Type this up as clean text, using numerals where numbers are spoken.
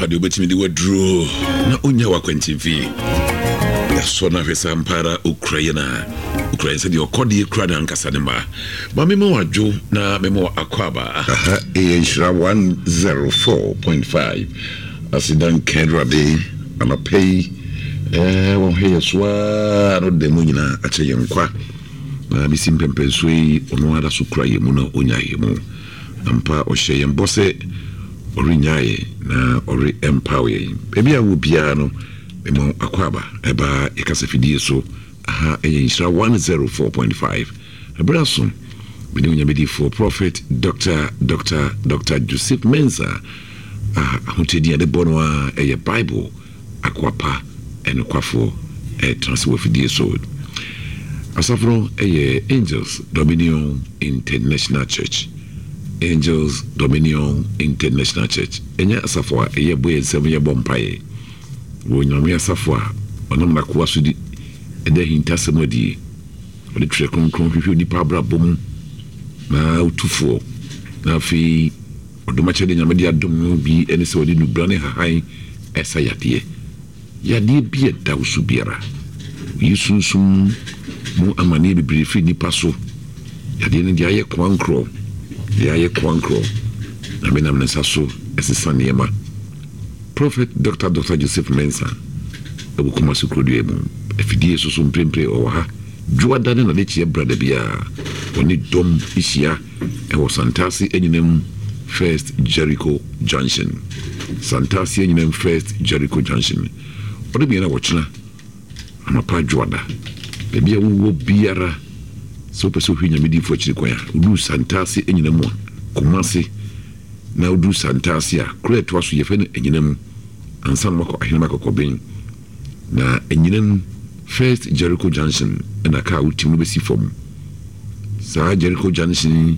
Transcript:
Ampa deɛ wobɛtumi de waduro na ɔnya wakwantimfi. Yɛasɔ no ahwɛ sɛ ampa ara ɔkura yɛn a ɔkura yɛn sɛdeɛ ɔkɔdeɛ kura ne ankasa ne mma. Ma mema wo adwo na mema wo akwaaba. Aha yɛ Nhyira 104.5 Aseda nka Awurade anɔpa yi eh, wɔhwɛ yɛ so ara na ɔde da mu nyinaa akyɛ yɛn nkwa na bɛsi mpɛmpɛnsoɔ yi ɔno ara so kura yɛn mu na ɔnya yɛn mu. Ampa ɔhyɛ yɛn bɔ sɛ ɔrennyaa yɛn na ɔrempaw yɛn. Baabi a wɔ biara no mema wo akwaaba ɛba yɛ kasafidie so. Aha ɛyɛ Nhyira 104.5. Ɛberɛ aso, me ne Onyame difoɔ Prophet Doctor Doctor Doctor Joseph Mensah a ahokyɛ din a yɛde bɔ no ara ɛyɛ Bible akoa pa ɛnokwafoɔ ɛretena ase wɔ afidie so. Asafo no ɛyɛ Angels Dominion International Church. Angels Dominion International Church ɛnyɛ asafo a ɛyɛ bɔ yɛn nsam yɛbɔ mpaeɛ. Wɔ Onyame asafo a ɔnam n'akoa so di ɛda ahintasɛm adie. Ɔde Twerɛ Kronkron hwehwɛ onipa abrabɔ mu na ɔtu foɔ, na afei ɔdom akyɛdeɛ Nyame de adom no bi ne sɛ ɔde nnubra ne nhahan ɛsa yadeɛ. Yadeɛ bi a ɛda wo so biara, ɔyi sunsum mu amaneɛ bebree firi nnipa so. Yadeɛ no deɛ ayɛ koankorɔ, deɛ ayɛ koankorɔ, Nyame nam ne nsa so ɛsesa nneɛma. Prophet Dɔkta Dɔkta Joseph Mensah wɔ Kumasi kurodua mu. Afidie so so mprempren ɔwɔ ha. Dwoada ne n'adekyeɛ brada biara ɔne dɔm hyia wɔ Santase Anyinam First Jericho Junction. Santase Anyinam First Jericho Junction. Ɔde mmiɛn a wɔkyena anɔpa Dwoada. Baabi a wowɔ biara sɛ wopɛ sɛ wohwɛ Nyame diifo akyiri kwan a, woduru Santase Anyinam a, Kumasi na woduru Santase a, kuro a ɛtoa so yɛfrɛ no Anyinam ansa na wakɔ Ahenema Kɔkɔben. Na Anyinam First Jericho Junction na kaa wotim no bɛsi fam. Saa Jericho Junction yi.